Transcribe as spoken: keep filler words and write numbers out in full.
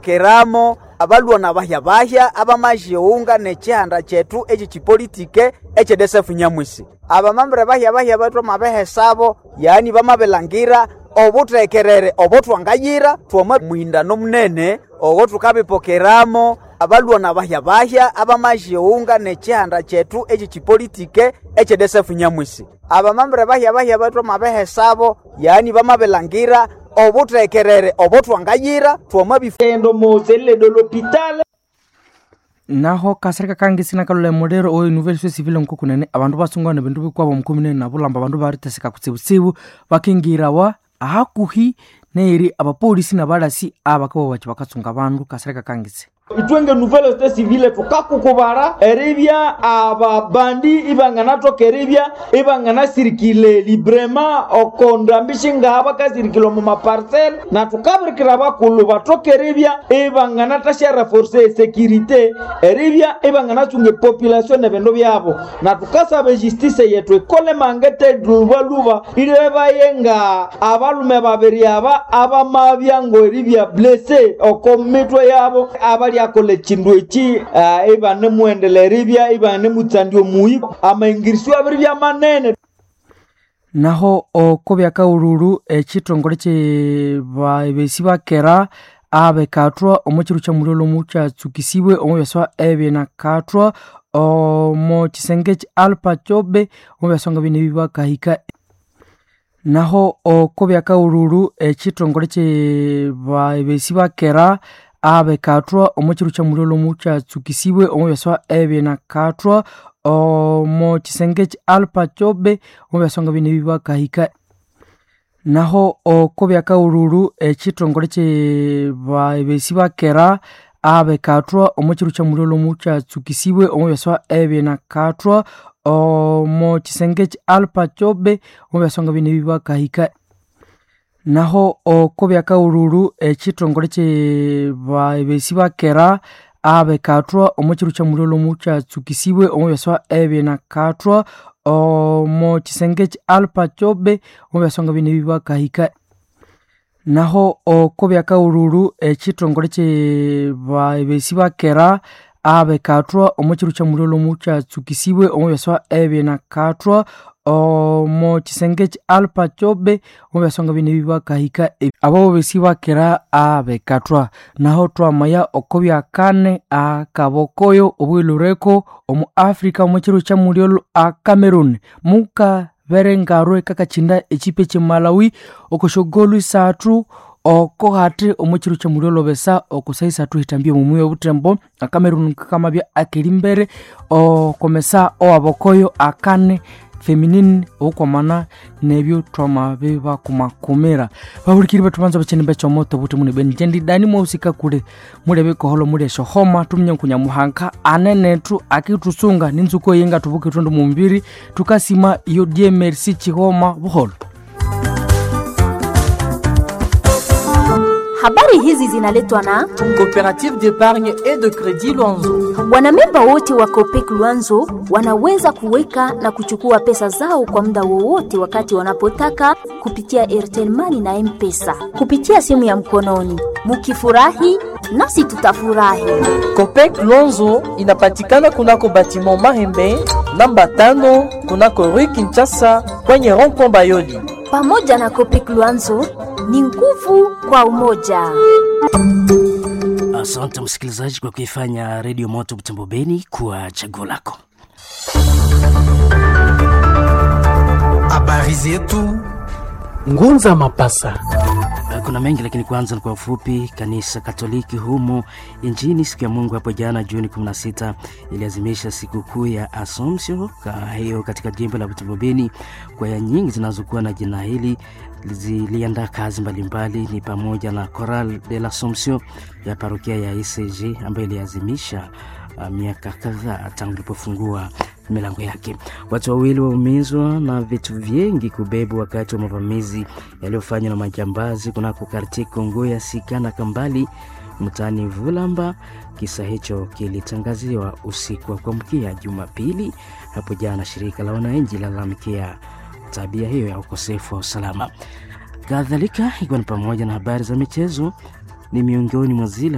Keramo abalwa na bahya bahya abamajiunga n'ekihanda kyethu ekyekipolitike ekyedesefu Nyamwisi. Abamambere bahya bahya bethu amabehesabo, yaani bamabilangira obuthekerere obotwangayira twama muhindano munene ogo tukabipokeramo abalwa na bahya bahya abamajiunga n'ekihanda kyethu ekyekipolitike ekyedesefu Nyamwisi. Abamambere bahya bahya bethu amabehesabo, yaani bamabilangira obuthekerere obotwangayira twamabifendo Naho kasirika kangisi nakalolha emuliro owe nouvelle civile nkokunene abandu basungana ebindu bikwabo mukominene nabulamba abandu bariteseka kutsibutsibu bakingirawa ahakuhi neri abapolisi nabalasi abakabawachi bakatsunga abandu. Kasirika kangisi. Itwenge nouvelle société civile tukakukubara eribya ababandi ibanganathoka eribya ibanganasirikile librema okondambishi ngaha bakasirikile omu maparcel na tukabirikira abakulhu bathoka eribya ibanganathasya reforce esecurite eribya ibanganasunga epopulation ebindu byabo na tukasaba ejustice yethu ikole mangete lubaluba ilebaye nga abalume babiri aba abamabya ngo eribya blessé oko mitwe yabo abali akola ekindu eki uh, ibanemuendelera eribya ibanemutsandya omuyi amaingirisyo abiri byamanene. Naho oko byakaululu ekithongole kyebabesi bakera abekathwa omo kiro kya muliro mukyatsukisibwe omo byaswa ebinakathwa omo kisenge kya Alpa Chobe omo byaswa nga bine bibakahika. Naho oko byakaululu ekithongole kyebabesi bakera abekathwa omo kiro kya muliro mukyatsukisibwe omo byaswa ebinakathwa omo kisenge kya Alpa Chobe omo byaswa nga bine bibakahika. Naho oko byakaululu ekithongole kyebabesi bakera abekathwa omo kiro kya muliro mukyatsukisibwe omo byaswa ebinakathwa omo kisenge kya Alpa Chobe omo byaswa nga bine bibakahika. Naho oko byakaululu ekithongole kyebabesi bakera abekathwa omo kiro kya muliro mukyatsukisibwe omo byaswa ebinakathwa omo kisenge kya Alpa Chobe omo byaswa nga bine bibakahika. Naho oko byakaululu ekithongole kyebabesi bakera abekathwa omo kiro kya muliro mukyatsukisibwe omo byaswa ebinakathwa omo kisenge kya Alpa Chobe omo byaswa nga bine bibakahika. Abo besi bakera abekathwa. Naho twamaya oko byakane akabokoyo obwilureko omu Africa omo kiro kya muliro a Cameroon mukaberengarwe kakachinda echipe kye Malawi okoshogolu isathu oko hati omo kiro kya muliro besa okosa isathu hitambie mumuyo obutembo a Cameroon kakamabya akeri mbere okomesa owabokoyo akane feminine okwamana nebyo twamabe bakumakumira babulikiri bethu banza bacheni bechomoto buti mune benjendi dani mwausika kule mulebe koholo mule shohoma tumye nkunyamuhanka anenethu akitusunga ninzuko yenga tubuke tundu mumbiri tukasima iyo die merci chihoma buholo. Habari hizi zinaletwa na Coopérative d'épargne et de crédit Luanzo. Wanamemba wote wa Copec Luanzo wanaweza kuweka na kuchukua pesa zao kwa muda wowote wakati wanapotaka kupitia Airtel Money na M-Pesa kupitia simu ya mkononi. Mukifurahi nasi tutafurahi. Copec Luanzo inapatikana kunako batiment Mahembe namba tano kunako Rue Kinshasa kwenye rond-point Bayoli. Pamoja na Copec Luanzo ni nguvu kwa umoja. Asante msikilizaji kwa kuifanya Redio Moto Butembo Beni kuwa chaguo lako. Habari zetu Ngunza Mapasa. Kuna mengi lakini kwanza ni kwa ufupi. Kanisa Katoliki humo nchini siku ya Mungu hapo jana Juni kumi na sita iliazimisha sikukuu ya Assumption hiyo katika jimbo la Butembo Beni. Kwaya nyingi zinazokuwa na jina hili ziliandaa kazi mbalimbali, ni pamoja na Choral de l'Assomption ya parokia ya I C G ambayo iliazimisha uh, miaka kadhaa tangu ilipofungua milango yake. Watu wawili waumizwa na vitu vingi kubebwa wakati wa mavamizi yaliyofanywa na majambazi kunako kartie Kongo ya Sika na Kambali mtaani Vulamba. Kisa hicho kilitangaziwa usiku wa kuamkia Jumapili hapo jana. Shirika la wananchi lalamikia tabia hiyo ya ukosefu wa usalama. Kadhalika ikiwa ni pamoja na habari za michezo, ni miongoni mwa zile